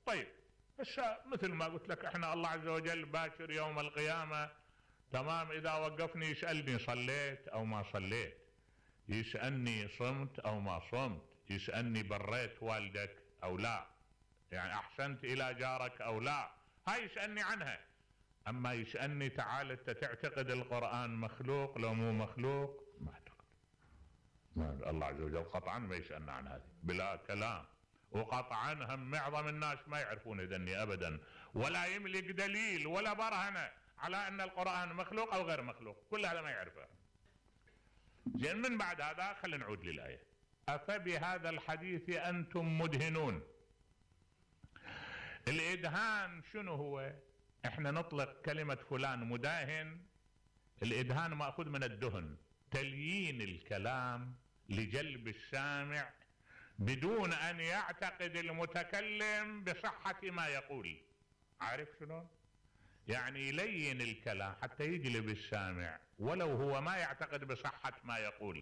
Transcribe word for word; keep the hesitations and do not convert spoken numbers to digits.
طيب بس مثل ما قلت لك احنا الله عز وجل باكر يوم القيامة تمام، اذا وقفني يسألني صليت او ما صليت، يسألني صمت او ما صمت، يسألني بريت والدك او لا، يعني احسنت الى جارك او لا، هاي يسألني عنها. اما يسألني تعال انت تعتقد القرآن مخلوق لو مو مخلوق؟ ما اعتقد. ما الله عز وجل قطعا ما يسألنا عن هذه بلا كلام، وقطعا هم معظم الناس ما يعرفون ذني ابدا، ولا يملك دليل ولا برهنة على ان القرآن مخلوق او غير مخلوق، كل هذا ما يعرفه. زين، من بعد هذا خلينا نعود للآية. أفبهذا الحديث أنتم مدهنون. الإدهان شنو هو؟ احنا نطلق كلمة فلان مداهن، الإدهان مأخوذ من الدهن، تليين الكلام لجلب السامع بدون أن يعتقد المتكلم بصحة ما يقول. عارف شنو؟ يعني يلين الكلام حتى يجلب السامع ولو هو ما يعتقد بصحة ما يقول.